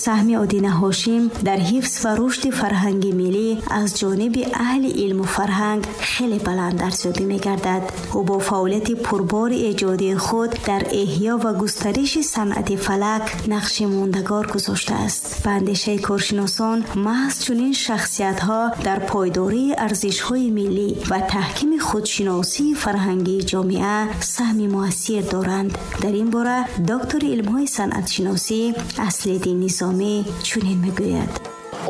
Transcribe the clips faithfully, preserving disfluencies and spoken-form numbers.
Саҳми Одина Ҳошим дар ҳифз ва рушди фарҳанги миллӣ аз ҷониби аҳли илму фарҳанг хеле баланд арзёбӣ мегардад. Ӯ бо фаъолияти пурбори эҷодии худ дар эҳё ва густариши санъати фалак нақши мондагор гузоштааст. Ба андешаи коршиносон, маҳз чунин шахсиятҳо дар пойдории арзишҳои миллӣ ва таҳкими худшиносии фарҳангии ҷомеа саҳми муассир доранд. Дар ин бора доктори илмҳои санъатшиносӣ Аслиддин Низомӣ чунин мегӯяд: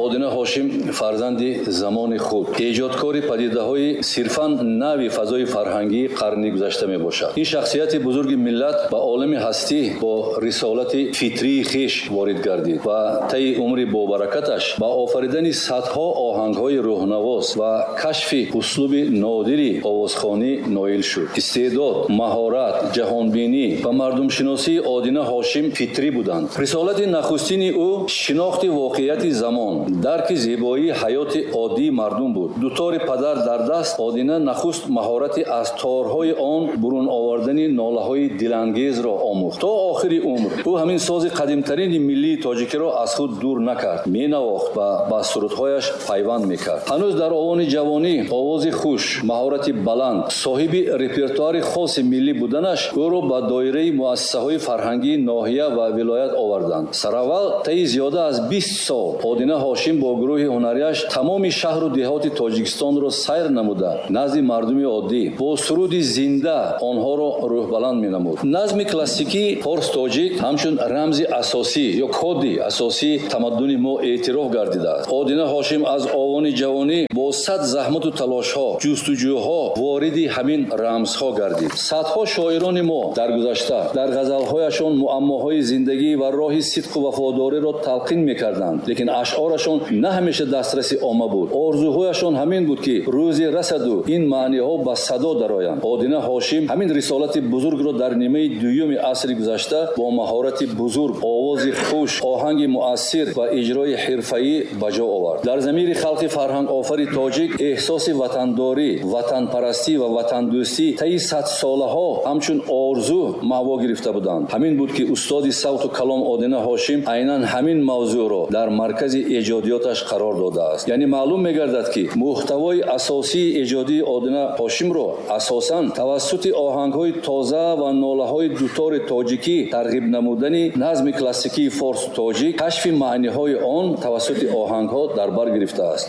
Одина Ҳошим фарзанди замони худ, эҷодкори падидаҳои сирфан нави фазои фарҳангии қарни гузашта мебошад. Ин шахсияти бузурги миллат ба олами ҳастӣ бо рисолати фитрии хеш ворид гардид ва таи умри бобаракаташ ба офаридани садҳо оҳангҳои рӯҳнавоз ва кашфи услуби нодири овозхонӣ ноил шуд. Истеъдод, маҳорат, ҷаҳонбинӣ ва мардумшиносии Одина Ҳошим фитрӣ буданд. Рисолати нахустини ӯ шинохти воқеияти замон, дарки зебоии ҳаёти оддии мардум буд. Дутори падар дар даст, Одина нахуст маҳорати аз торҳои он бурун овардани нолаҳои дилангезро омӯхт. То охири умр ӯ ҳамин сози қадимтарини миллии тоҷикиро аз худ дур накард, менавохт ва ба сурудҳояш пайванд мекард. Ҳанӯз дар овони ҷавонӣ овози хуш, маҳорати баланд, соҳиби репертуари хоси миллӣ буданаш ӯро ба доираи муассисаҳои фарҳангии ноҳия ва вилоят оварданд. Сараввал таи зиёда аз бист сол Одина Ҳошим бо гурӯҳи ҳунарияш тамоми шаҳру деҳоти Тоҷикистонро сайр намуда, назди мардуми оддӣ бо суруди зинда онҳоро рӯҳбаланд менамуд. Назми классикии форс-тоҷик ҳамчун рамзи асосӣ ё коди асосии тамаддуни мо эътироф гардидааст. Одина Ҳошим аз овони ҷавонӣ бо сад заҳмату талошҳо, ҷустуҷӯҳо вориди ҳамин рамзҳо гардид. Садҳо шоирони мо дар гузашта дар ғазалҳояшон муаммоҳои зиндагӣ ва роҳи сидқу вафодориро талқин мекарданд, лекин ашъорашон на ҳамеша дастраси омма буд. Орзуҳояшон ҳамин буд, ки рӯзе расаду ин маъниҳо ба садо дароянд. Одина Ҳошим ҳамин рисолати бузургро дар нимаи дуюми асри гузашта бо маҳорати бузург, овози хуш, оҳанги муассир ва иҷрои ҳирфаӣ ба ҷо овард. Дар замири халқи фарҳангофари тоҷик эҳсоси ватандорӣ, ватанпарастӣ ва ватандӯстӣ таи садсолаҳо ҳамчун орзу маъво гирифта буданд. Ҳамин буд, ки устоди савту калом Одина Ҳошим айнан ҳамин мавзӯъро дар маркази эҷодиёташ қарор додааст. Яъне маълум мегардад, ки муҳтавои асосии эҷодии Одина Ҳошимро асосан тавассути оҳангҳои тоза ва нолаҳои дутори тоҷикӣ тарғиб намудани назми классикии форсу тоҷик, кашфи маъниҳои он тавассути оҳангҳо дар бар гирифтааст.